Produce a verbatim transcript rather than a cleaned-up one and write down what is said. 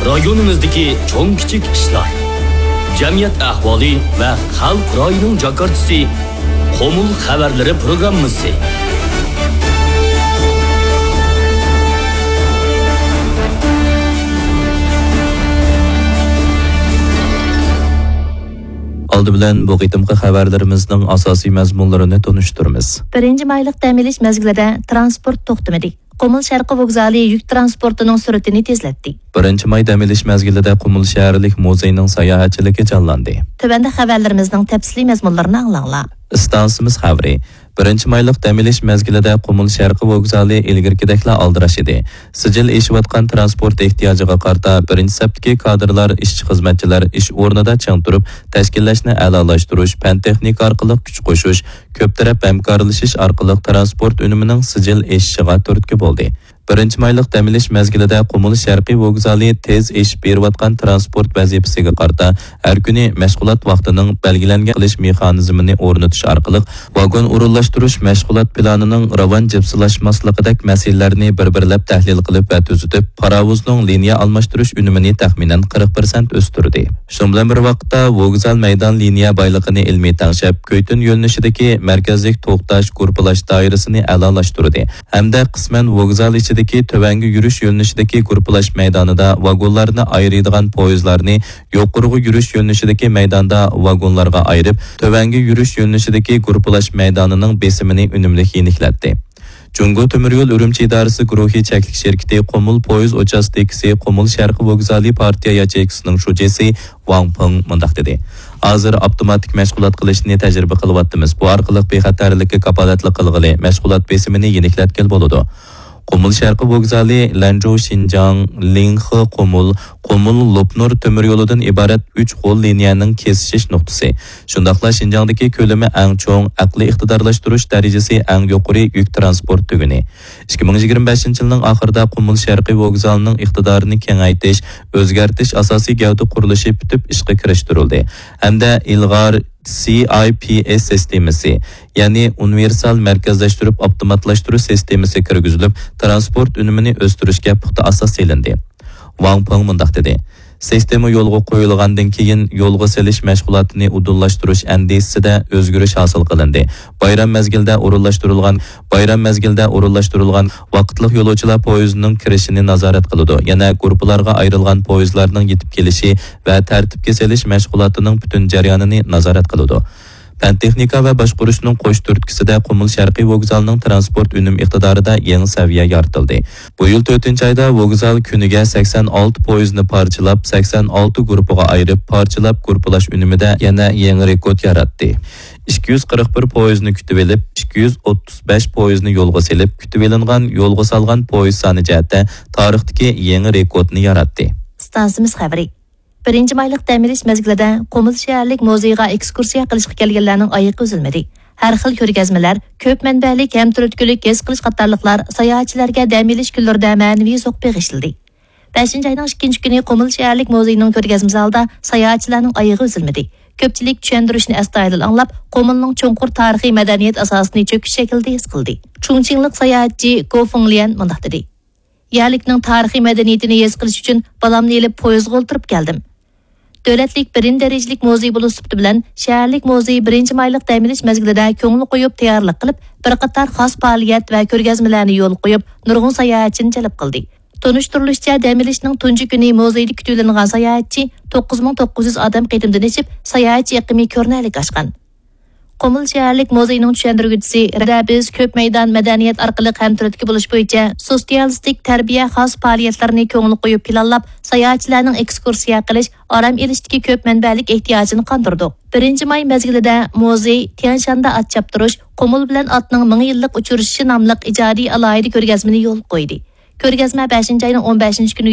رايونىمىزدىكى چوڭ-كىچىك ئىشلار، جەمئىيەت ئەھۋالى ۋە خەلق رايىنىڭ جاكارتىسى، قۇمۇل خەۋەرلىرى پروگراممىسى. ئالدى بىلەن بۇ قېتىمقى خەۋەرلىرىمىزنىڭ ئاساسىي مەزمۇنلىرىنى تونۇشتۇرىمىز. بىرىنچى مايلىق دەم ئېلىش مەزگىلىدە تىرانسپورت توختىمىدى. قۇمۇل شەرقىي ۋوگزالى يۈك تىرانسپورتىنىڭ سۈرئىتىنى تېزلەتتى. بىرىنچى ماي دەم ئېلىش مەزگىلىدە قۇمۇل شەھەرلىك مۇزېينىڭ ساياھەتچىلىكى جانلاندى. تۆۋەندە خەۋەرلىرىمىزنىڭ تەپسىلىي مەزمۇنلىرىنى ئاڭلاڭلار. ئىستانسىمىز خەۋىرى. بىرىنچى مايلىق دەم ئېلىش مەزگىلىدە قۇمۇل شەرقىي ۋوگزالى ئىلگىرىكىدەكلا ئالدىراش ئىدى. سىجىل ئېشىۋاتقان تىرانسپورت ئېھتىياجىغا قارىتا، بىرىنچى سەپتىكى كادىرلار، ئىشچى-خىزمەتچىلەر ئىش ئورنىدا چىڭ تۇرۇپ، تەشكىللەشنى ئەلالاشتۇرۇش، پەن-تېخنىكا ئارقىلىق كۈچ قوشۇش، كۆپ تەرەپ ھەمكارلىشىش ئارقىلىق تىرانسپورت ئۈنۈمىنىڭ سىجىل ئېشىشىغا تۈرتكە بولدى. بىرىنچى مايلىق دەم ئېلىش مەزگىلىدە قۇمۇل شەرقىي ۋوگزالى تېز ئېشىپ بېرىۋاتقان تىرانسپورت ۋەزىپىسىگە قارىتا، ھەر كۈنى مەشغۇلات ۋاقتىنىڭ بەلگىلەنگەن قىلىش مېخانىزمىنى ئورنىتىش ئارقىلىق، ۋاگون ئورۇنلاشتۇرۇش مەشغۇلات پىلانىنىڭ راۋان جىپسىلاشماسلىقىدەك مەسىلىلەرنى بىر-بىرلەپ تەھلىل قىلىپ ۋە تۈزىتىپ، پاراۋۇزنىڭ لىنىيە ئالماشتۇرۇش ئۈنۈمىنى تەخمىنەن قىرىق پىرسەنت ئۆستۈردى. شۇنىڭ بىلەن بىر ۋاقىتتا، ۋوگزال مەيدان لىنىيە بايلىقىنى ئىلمىي تەڭشەپ، كۈيتۈن يۆنىلىشىدىكى مەركەزلىك توختاش، گۇرۇپپىلاش دائىرىسىنى ئەلالاشتۇردى ھەمدە قىسمەن ۋوگزال ئىچىدىكى تۆۋەنگە يۈرۈش يۆنىلىشىدىكى گۇرۇپپىلاش مەيدانىدا ۋاگونلارنى ئايرىيدىغان پويىزلارنى يۇقىرىغا يۈرۈش يۆنىلىشىدىكى مەيداندا ۋاگونلارغا ئايرىپ، تۆۋەنگە يۈرۈش يۆنىلىشىدىكى گۇرۇپپىلاش مەيدانىنىڭ بېسىمىنى ئۈنۈملۈك يېنىكلەتتى. جۇڭگو تۆمۈر يول ئۈرۈمچى ئىدارىسى گۇرۇھى چەكلىك شىركىتى قۇمۇل پويىز ئۇچاستكىسى، قۇمۇل شەرقىي ۋوگزالى پارتىيە ياچېيكىسىنىڭ شۇجىسى ۋاڭ پېڭ مۇنداق دېدى: ھازىر ئاپتوماتىك مەشغۇلات قىلىشنى تەجرىبە قىلىۋاتىمىز. بۇ ئارقىلىق بىخەتەرلىككە كاپالەتلىك قىلغىلى، مەشغۇلات بېسىمىنى يېنىكلەتكىلى بولىدۇ. قۇمۇل شەرقىي ۋوگزالى، لەنجۇ شىنجاڭ، لىڭخې قۇمۇل، قۇمۇل لوپنۇر تۆمۈر يولىدىن ئىبارەت ئۈچ غول لىنىيەنىڭ كېسىشىش نۇقتىسى. شۇنداقلا شىنجاڭدىكى كۆلىمى ئەڭ چوڭ، ئەقلىي ئىقتىدارلاشتۇرۇش دەرىجىسى ئەڭ يۇقىرى يۈك تىرانسپورت تۈگۈنى. ئىككى مىڭ يىگىرمە بەشىنچى يىلنىڭ ئاخىرىدا قۇمۇل شەرقىي ۋوگزالىنىڭ ئىقتىدارىنى كېڭەيتىش، ئۆزگەرتىش ئاساسىي گەۋدە قۇرۇلۇشى پۈتۈپ ئىشقا كىرىشتۈرۈلدى ھەمدە ئىلغار سى ئاي پى ئېس سىستېمىسى، يەنى ئۇنىۋېرسال مەركەزلەشتۈرۈپ ئاپتوماتلاشتۇرۇش سىستېمىسى كىرگۈزۈلۈپ، تىرانسپورت ئۈنۈمىنى ئۆستۈرۈشكە پۇختا ئاساس سېلىندى. ۋاڭ پېڭ مۇنداق دېدى: سىستېما يولغا قويۇلغاندىن كېيىن، يولغا سېلىش مەشغۇلاتىنى ئۇدۇللاشتۇرۇش ئەندىزىسىدە ئۆزگىرىش ھاسىل قىلىندى. بايرام مەزگىلىدە ئورۇنلاشتۇرۇلغان، بايرام مەزگىلىدە ئورۇنلاشتۇرۇلغان ۋاقىتلىق يولۇچىلار پويىزىنىڭ كىرىشىنى نازارەت قىلىدۇ. يەنە گۇرۇپپىلارغا ئايرىلغان پويىزلارنىڭ يېتىپ كېلىشى ۋە تەرتىپكە سېلىش مەشغۇلاتىنىڭ پۈتۈن جەريانىنى نازارەت قىلىدۇ. پەن-تېخنىكا ۋە باشقۇرۇشنىڭ قوش تۈرتكىسىدە قۇمۇل شەرقىي ۋوگزالىنىڭ تىرانسپورت ئۈنۈم ئىقتىدارىدا يېڭى سەۋىيە يارىتىلدى. بۇ يىل تۆتىنچى ئايدا ۋوگزال كۈنىگە سەكسەن ئالتە پويىزنى پارچىلاپ، سەكسەن ئالتە گۇرۇپپىغا ئايرىپ، پارچىلاپ گۇرۇپپىلاش ئۈنۈمىدە يەنە يېڭى رېكورت ياراتتى. ئىككى يۈز قىرىق بىر پويىزنى كۈتۈۋېلىپ، ئىككى يۈز ئوتتۇز بەش پويىزنى يولغا سېلىپ، كۈتۈۋېلىنغان، يولغا سالغان پويىز سانى جەھەتتە تارىختىكى يېڭى رېكورتنى ياراتتى. ئىستانسىمىز خەۋىرى. بىرىنچى مايلىق دەم ئېلىش مەزگىلىدە قۇمۇل شەھەرلىك مۇزېيغا ئېكسكۇرسىيە قىلىشقا كەلگەنلەرنىڭ ئايىغى ئۈزۈلمىدى. ھەر خىل كۆرگەزمىلەر، كۆپ مەنبەلىك ھەم تۈرتكىلىك ھېس قىلىش قاتارلىقلار ساياھەتچىلەرگە دەم ئېلىش كۈنلىرىدە مەنىۋى زوق بېغىشلىدى. بەشىنچى ئاينىڭ ئىككىنچى كۈنى قۇمۇل شەھەرلىك مۇزېينىڭ كۆرگەزمە زالىدا ساياھەتچىلەرنىڭ ئايىغى ئۈزۈلمىدى. كۆپچىلىك چۈشەندۈرۈشنى ئەستايىدىل ئاڭلاپ، قۇمۇلنىڭ چوڭقۇر تارىخىي مەدەنىيەت ئاساسىنى چۆكۈش شەكلىدە ھېس قىلدى. چۇڭچىڭلىق ساياھەتچى گو فېڭليەن مۇنداق دېدى: يەرلىكنىڭ تارىخىي مەدەنىيىتىنى ھېس قىلىش ئۈچۈن بالامنى ئېلىپ پويىزغا ئولتۇرۇپ كەلدىم. دۆلەتلىك بىرىنچى دەرىجىلىك مۇزېي بولۇش سۈپىتى بىلەن شەھەرلىك مۇزېي بىرىنچى مايلىق دەم ئېلىش مەزگىلىدە كۆڭۈل قويۇپ تەييارلىق قىلىپ، بىر قاتار خاس پائالىيەت ۋە كۆرگەزمىلەرنى يولغا قويۇپ، نۇرغۇن ساياھەتچىنى جەلپ قىلدى. تونۇشتۇرۇلۇشىچە، دەم ئېلىشنىڭ تۇنجى كۈنى مۇزېيدا كۈتۈۋېلىنغان ساياھەتچى توققۇز مىڭ توققۇز يۈز ئادەم قېتىمدىن ئېشىپ، ساياھەتچى ئېقىمى كۆرۈنەرلىك ئاشقان. قۇمۇل شەھەرلىك مۇزېينىڭ چۈشەندۈرگۈچىسى رەدە، بىز كۆپ مەيدان مەدەنىيەت ئارقىلىق ھەم تۈرتكە بولۇش بويىچە سوتسىيالىستىك تەربىيە خاس پائالىيەتلىرىنى كۆڭۈل قويۇپ پىلانلاپ، ساياھەتچىلەرنىڭ ئېكسكۇرسىيە قىلىش، ئارام ئېلىشتىكى كۆپ مەنبەلىك ئېھتىياجىنى قاندۇردۇق. بىرىنچى ماي مەزگىلىدە مۇزېي تيەنشاندا ئات چاپتۇرۇش، قۇمۇل بىلەن ئاتنىڭ مىڭ يىللىق ئۇچرىشىشى ناملىق ئىجادىي ئالاھىدە كۆرگەزمىنى يولغا قويدى. كۆرگەزمە بەشىنچى ئاينىڭ ئون بەشىنچى كۈنىگە